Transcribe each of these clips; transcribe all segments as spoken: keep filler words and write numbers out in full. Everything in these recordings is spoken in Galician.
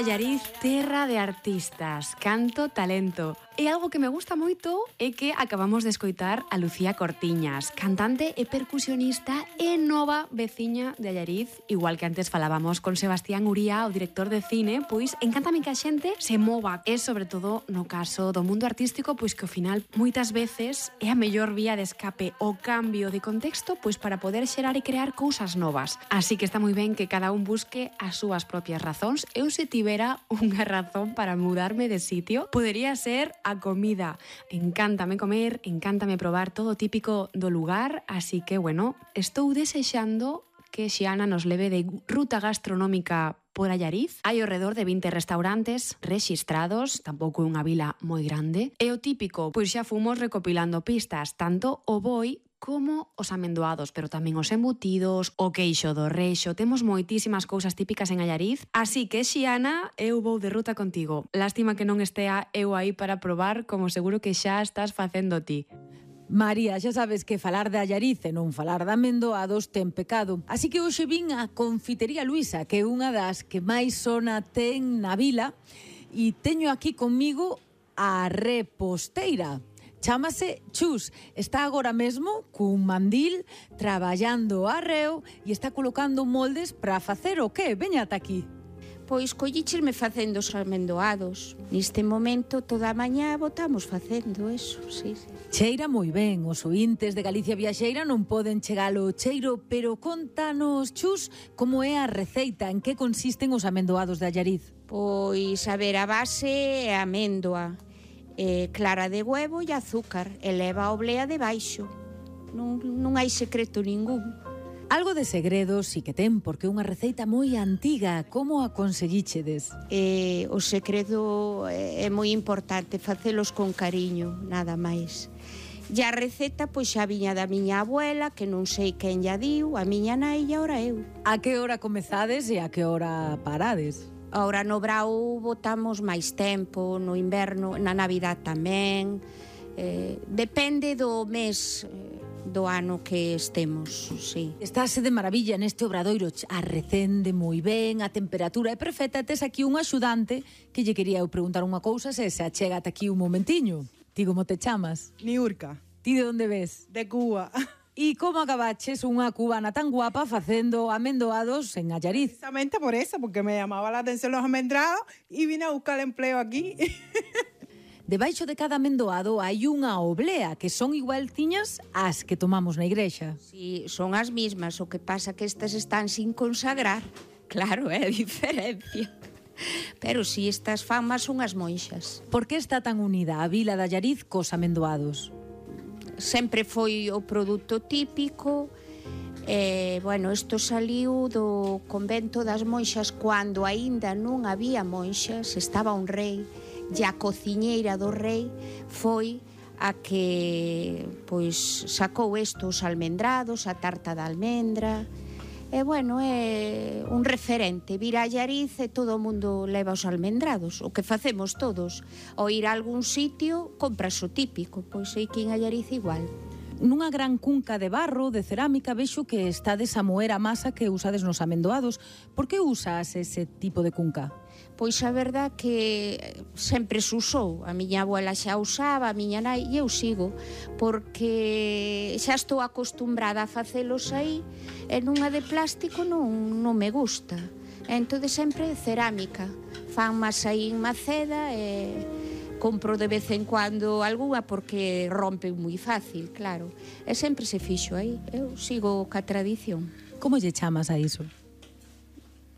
Allariz, terra de artistas, canto, talento. E algo que me gusta moito é que acabamos de escoitar a Lucía Cortiñas, cantante e percusionista e nova veciña de Allariz. Igual que antes falábamos con Sebastián Uría, o director de cine, pois encántame que a xente se mova. E sobre todo no caso do mundo artístico, pois que ao final moitas veces é a mellor vía de escape o cambio de contexto pois para poder xerar e crear cousas novas. Así que está moi ben que cada un busque as súas propias razóns. Eu se tivera unha razón para mudarme de sitio, podería ser a comida. Encántame comer, encántame probar todo típico do lugar, así que, bueno, estou desexando que Xiana nos leve de ruta gastronómica por Allariz. Hai ao redor de vinte restaurantes rexistrados, tampouco é unha vila moi grande. E o típico, pois xa fomos recopilando pistas, tanto o boi como os amendoados, pero tamén os embutidos, o queixo do rexo. Temos moitísimas cousas típicas en Allariz. Así que, Xiana, eu vou de ruta contigo. Lástima que non estea eu aí para probar, como seguro que xa estás facendo ti. María, xa sabes que falar de Allariz e non falar de amendoados ten pecado. Así que hoxe vin a Confitería Luisa, que é unha das que máis sona ten na vila, e teño aquí comigo a reposteira. Chámase Chus, está agora mesmo cun mandil traballando arreo e está colocando moldes para facer o que? Veña ata aquí. Pois collichesme facendo os amendoados. Neste momento toda a mañá botamos facendo eso, sí, sí. Cheira moi ben, os oíntes de Galicia Viaxeira non poden chegar ao cheiro, pero contanos, Chus, como é a receita, en que consisten os amendoados de Allariz? Pois, a ver, a base é améndoa, eh, clara de huevo e azúcar, e leva a oblea debaixo. Non, non hai secreto ningún. Algo de segredo sí que ten, porque é unha receita moi antiga. Como a conseguíchedes? Eh, o segredo é, é moi importante, facelos con cariño, nada máis. E a receta, pois xa viña da miña abuela, que non sei quen lla diu, a miña nai e ahora eu. A que hora comezades e a que hora parades? Ahora no brao botamos máis tempo, no inverno, na Navidad tamén. Eh, depende do mes do ano que estemos, sí. Estáse de maravilla neste obradoiro, arrecende moi ben, a temperatura é perfecta. Tes aquí un axudante que lle quería eu preguntar unha cousa, se se achega ata aquí un momentiño. Ti como te chamas? Niurka. Ti de onde ves? De Cuba. E como acabaches unha cubana tan guapa facendo amendoados en Allariz? Precisamente por eso, porque me llamaba la atención los amendrados y vine a buscar empleo aquí. Debaixo de cada amendoado hai unha oblea, que son igualciñas ás que tomamos na igrexa. Sí, son as mismas, o que pasa que estas están sin consagrar. Claro, é a diferencia. Pero si, estas fan máis son as monxas. Por que está tan unida a vila de Allariz cos amendoados? Sempre foi o produto típico. Eh, bueno, isto saliu do convento das monxas cando aínda non había monxas, estaba un rei, e a cociñeira do rei foi a que pois sacou estos almendrados, a tarta de almendra. E bueno, é un referente. Vir a Allariz e todo o mundo leva os almendrados, o que facemos todos. Ao ir a algún sitio, compras o típico, pois aquí en Allariz igual. Nunha gran cunca de barro, de cerámica, vexo que estades a moer a masa que usades nos amendoados. Por que usas ese tipo de cunca? Pois a verdad que sempre se usou. A miña abuela xa usaba, a miña nai, e eu sigo, porque xa estou acostumbrada a facelos aí, e nunha de plástico non, non me gusta. Entón sempre cerámica. Fan máis aí en Maceda e compro de vez en cuando algunha porque rompen moi fácil, claro. E sempre se fixo aí. Eu sigo ca tradición. Como lle chamas a iso?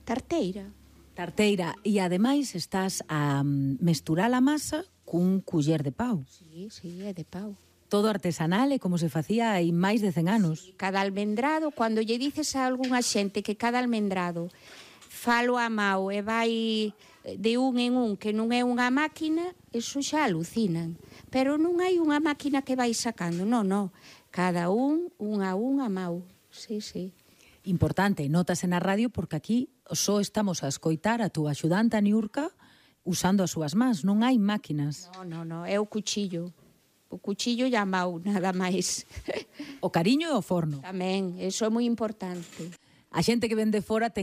Tarteira. Tarteira, e ademais estás a mesturar a masa cun culler de pau. Sí, sí, é de pau. Todo artesanal e como se facía hai máis de cen anos. Sí, cada almendrado, cando lle dices a algunha xente que cada almendrado falo a mao e vai de un en un, que non é unha máquina, eso xa alucinan. Pero non hai unha máquina que vai sacando, non, non. Cada un, un a un a mao. Sí, sí. Importante, notase na radio porque aquí só estamos a escoitar a túa axudante a Niurka usando as súas mans, non hai máquinas. Non, non, non, é o cuchillo. O cuchillo e a mau, nada máis. O cariño e o forno. Tamén, eso é moi importante. A xente que ven de fora ten